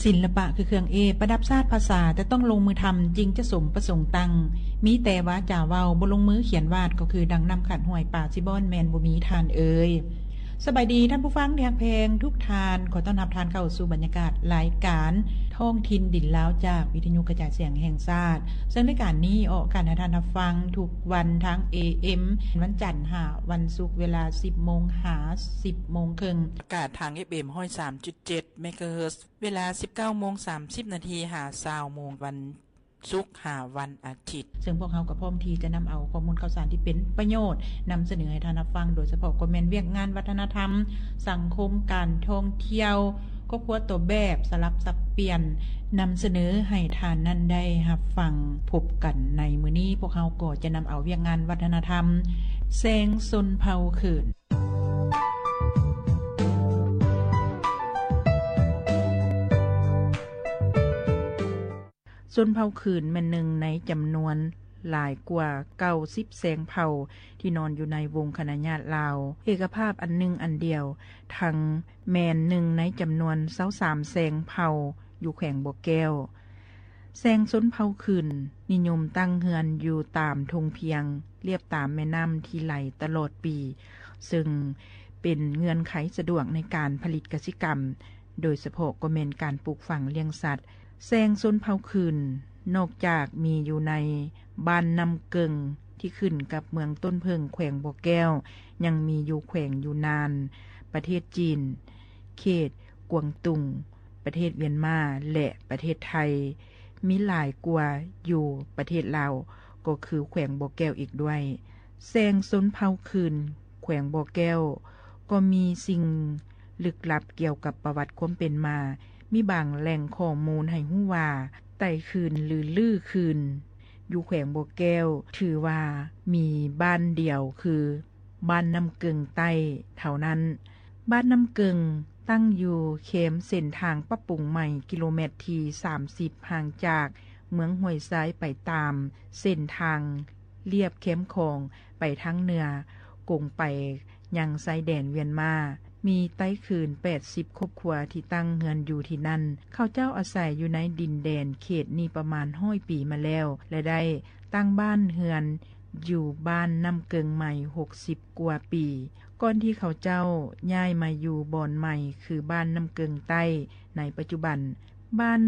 ສິລປະຄືເຄື່ອງເອບ ປະດັບຊາດພາສາ ແຕ່ຕ້ອງລົງມືທຳ ຈຶ່ງຈະສົມປະສົງຕັ້ງ. ມີແຕ່ວາຈາເວົ້າ ບໍ່ລົງມືຂຽນວາດ ກໍຄືດັ່ງນ້ຳຂາດຫ້ວຍ ປາຊິບ່ອນ ແມ່ນບໍ່ມີທ່ານເອີຍ. ສະບາຍດີທ່ານຜູ້ຟັງທີ່ຮັກແພງທຸກທ່ານ, ຂໍຕ້ອນຮັບທ່ານເຂົ້າສູ່ບັນຍາກາດລາຍການທ້ອງຖິ່ນດິນລາວ ຈາກວິທະຍຸກະຈາຍສຽງແຫ່ງຊາດ. ເຊິ່ງລາຍການນີ້ອອກອາກາດໃຫ້ທ່ານຮັບຟັງທຸກວັນທາງ ເອເອັມ ວັນຈັນຫາວັນສຸກ ເວລາສິບໂມງຫາສິບໂມງເຄິ່ງ, ອາກາດທາງ ເອັຟເອັມ ຮ້ອຍສາມຈຸດເຈັດ ເມກາເຮີດ ເວລາສິບເກົ້າໂມງສາມສິບນາທີ ຫາຊາວໂມງ ວັນສຸກຫາວັນອາທິດ. ເຊິ່ງພວກເຮົາກໍພ້ອມທີ່ຈະນຳເອົາຂໍ້ມູນຂ່າວສານທີ່ເປັນປະໂຫຍດ ນຳສະເໜີໃຫ້ທ່ານຮັບຟັງ, ໂດຍສະເພາະກໍແມ່ນວຽກງານວັດທະນະທຳ, ສັງຄົມ, ການທ່ອງທ່ຽວ, ຄອບຄົວຕົວແບບ, ສະຫຼັບສັບປ່ຽນ, ນຳສະເໜີໃຫ້ທ່ານນັ້ນໄດ້ຮັບຟັງ. ພົບກັນໃນມື້ນີ້, ພວກເຮົາກໍຈະນຳເອົາວຽກງານວັດທະນະທຳ ແຊງຊົນເຜົ່າຄືນ. ຊົນເຜົ່າຂືນແມ່ນໜຶ່ງໃນຈຳນວນຫຼາຍກວ່າເກົ້າສິບແຊງເຜົ່າ ທີ່ນອນຢູ່ໃນວົງຄະນະຍາດລາວເອກະພາບອັນໜຶ່ງອັນດຽວ, ທັງແມ່ນໜຶ່ງໃນຈຳນວນຊາວສາມແຊງເຜົ່າຢູ່ແຂວງບໍ່ແກ້ວ. ແຊງຊົນເຜົ່າຂືນນິຍົມຕັ້ງເຮືອນຢູ່ຕາມທົ່ງພຽງ ລຽບຕາມແມ່ນ້ຳທີ່ໄຫຼຕະຫຼອດປີ, ເຊິ່ງເປັນເງື່ອນໄຂສະດວກໃນການຜະລິດກະສິກຳ, ໂດຍສະເພາະກໍແມ່ນການປູກຝັງລ້ຽງສັດ. ແຊງຊົນເຜົ່າຂືນ ນອກຈາກມີຢູ່ໃນບ້ານນ້ຳເກິ່ງ ທີ່ຂຶ້ນກັບເມືອງຕົ້ນເຜິ້ງ ແຂວງບໍ່ແກ້ວ, ຍັງມີຢູ່ແຂວງຢູນານ, ປະເທດຈີນ, ເຂດກວາງຕຸງ, ປະເທດວຽນມາ ແລະ ປະເທດໄທ, ມີຫຼາຍກວ່າຢູ່ປະເທດລາວ ກໍຄືແຂວງບໍ່ແກ້ວອີກດ້ວຍ. ແຊງຊົນເຜົ່າຂືນແຂວງບໍ່ແກ້ວ ກໍມີສິ່ງລຶກລັບກ່ຽວກັບປະຫວັດຄວາມເປັນມາ. ມີບາງແຫຼ່ງຂໍ້ມູນໃຫ້ຮູ້ວ່າ ໄຕ້ຂືນ ຫຼື ລືຂືນ ຢູ່ແຂວງບໍ່ແກ້ວ ຖືວ່າມີບ້ານດຽວ ຄື ບ້ານນ້ຳເກິ່ງໃຕ້ເທົ່ານັ້ນ. ບ້ານນ້ຳເກິ່ງຕັ້ງຢູ່ແຄມເສັ້ນທາງປັບປຸງໃໝ່ ກິໂລແມັດທີສາມສິບ ຫ່າງຈາກເມືອງຫ້ວຍຊາຍໄປຕາມເສັ້ນທາງລຽບແຄມຂອງໄປທາງເໜືອ ກົງໄປຍັງຊາຍແດນວຽນມາ. ມີໄຕ້ຂືນແປດສິບຄອບຄົວທີ່ຕັ້ງເຮືອນຢູ່ທີ່ນັ້ນ. ເຂົາເຈົ້າອາໄສຢູ່ໃນດິນແດນເຂດນີ້ປະມານຮ້ອຍປີມາແລ້ວ ແລະ ໄດ້ຕັ້ງບ້ານເຮືອນ ຢູ່ບ້ານນ້ຳເກິ່ງໃໝ່ຫົກສິບກວ່າປີ ກ່ອນທີ່ເຂົາເຈົ້າຍ້າຍມາຢູ່ບ່ອນໃໝ່ ຄື ບ້ານນ້ຳເກິ່ງໃຕ້ໃນປັດຈຸບັນ. ບ້ານ